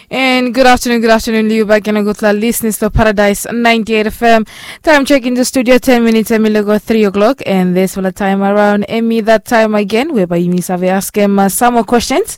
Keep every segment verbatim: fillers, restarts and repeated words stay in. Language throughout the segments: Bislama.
And good afternoon, good afternoon, liu baik ena gutpela listeners to Paradise ninety-eight F M. Time check in the studio, ten minutes, emi logo three o'clock, and this will time around, emi that time again, whereby you save ask him uh, some more questions.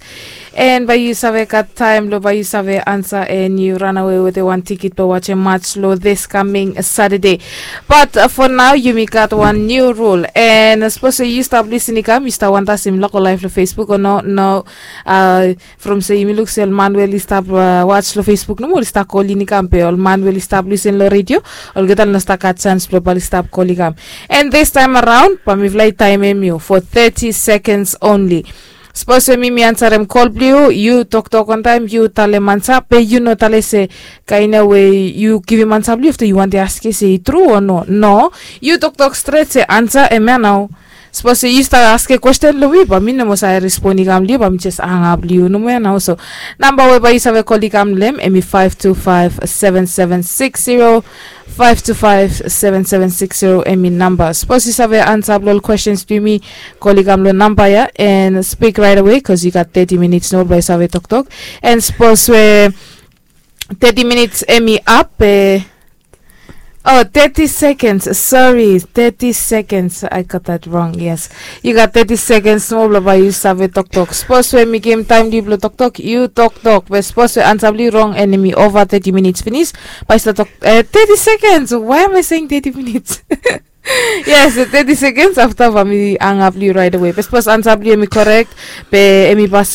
And by you save got time, lo by you save answer, and you run away with a one ticket to watch a match lo this coming Saturday. But uh, for now, you me got one new rule. And uh, suppose you stop listening, come, you start want us in local life lo Facebook or no, no. Uh, from se yumi luk se ol man we oli stap uh, watch lo Facebook nomo oli stap koli ni kam pe ol man we oli stap listen lo radio. Olgeta oli no stap gat chance blo bali stap koli kam. And this time around bamifala i taimem yu for thirty seconds only. Suppose we mi mi ansarem kol blio yu toktok on time yu talem ansa pe yu no tale se kaina we yu givim ansa blio afta yu wante aske se i tru o no no. Yu toktok stret se ansa em ya nao. Sapos yu stap aske kwesten long mi ba mi no moa save respon i kam long yu ba mi jes hangap long yu nomo ya nao so. Namba we ba yu save kol i kam long em em i five two five seven seven six zero. Five two five seven seven six zero em i namba. Sapos yu save ansa blong ol kwestens blong yumi, kol i kam long namba ya and spik rait awe bikos yu gat thirty minits nomo ba yu save toktok. And sapos we thirty minits em i ap e. Oh, thirty seconds. Sorry, thirty seconds. I got that wrong. Yes. You got thirty seconds nomo blong ba yu save toktok. Sapos we mi givim taim long yu blong toktok, yu toktok. Be sapos we ansa blong yu rong and em i ova thirty minits finis, ba yu stap tok, eh, thirty seconds. Why am I saying thirty minutes? Yes, thirty seconds afta ba mi hangap long yu right away. Be sapos ansa blong yu em i korek, be em i pas